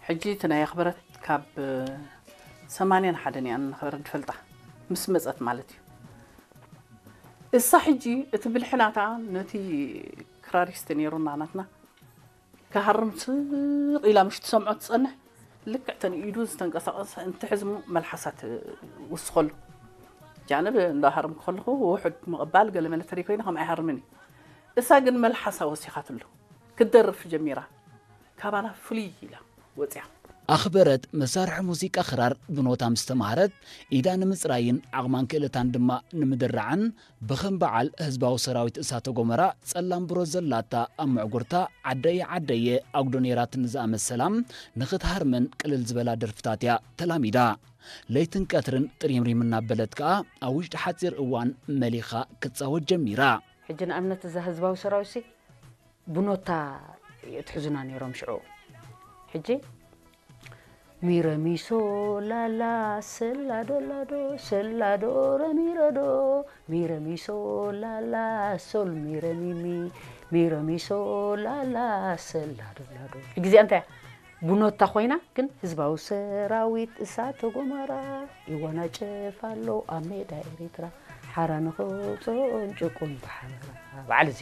ሕጂ እቲ ናይ ኣኽበረት ካብ ሰማንያን ሓደን እያ ንኣኽበረት ዝፈልጣ፣ ምስ መጸት ማለት እዩ። እሳ ሕጂ እቲ ብልሒ ናታ ነቲ ክራሪስት ነይሩና ናትና ክሃርም ስቕ ኢላ ምሽ ትሰምዖ ትጸንሕ። ልክዕ ተን ኢዱ ዝተንቀሳቐሰ እንትሕዝሙ መልሓሳ ትውስኸሉ። ጃንብ እንዳሃርም ከለኹ ውሑድ ምቕባል ገለ መለ ተሪኮይኑ ከም ኣይሃርምን እዩ። እሳ ግን መልሓሳ ወሲኻትሉ ክትደርፍ ጀሚራ። ካባና ፍልይ ኢላ ወፂኣ። ኣኽበረት መሳርሒ ሙዚቃ ክራር ብኖታ ምስ ተማህረት፣ ኢዳ ንምፅራይን ዓቕማን ክእለታን ድማ ንምድራዕን ብኸም በዓል ህዝባዊ ሰራዊት እሳተ ጎመራ ጸላም ብሮ ዘላታ ኣብ ምዕጉርታ ዓደየ ዓደየ ኣጉዶ ነይራትኒ ዝኣመሰላ ንኽትሃርምን ቅልል ዝበላ ደርፍታት እያ ተላሚዳ። ለይትን ቀትርን ጥሪምሪም እናበለት ከኣ ኣብ ውሽጢ ሓጺር እዋን መሊኻ ክትጻወት ጀሚራ። ሕጂ ንኣብነት እዛ ህዝባዊ ሰራዊትሲ ብኖታ የትሕዙና ነይሮም ሽዑ። ሕጂ ሚረሚሶ ላላ ሰላዶ ላዶ ሰላዶ ረሚረዶ ሚረሚሶ ላላ ሶል ሚረሚሚ ሚረሚሶ ላላ ሰላዶ ላዶ። ሕጂ እዚኣ እንታይ እያ? ብኖታ ኮይና ግን ህዝባዊ ሰራዊት እሳተ ጎመራ ይወናጨፍ ኣሎ ኣብ ሜዳ ኤሪትራ ሓራ ንኸውፅኦም ጭቁን ብሓበራ። በዓል እዚ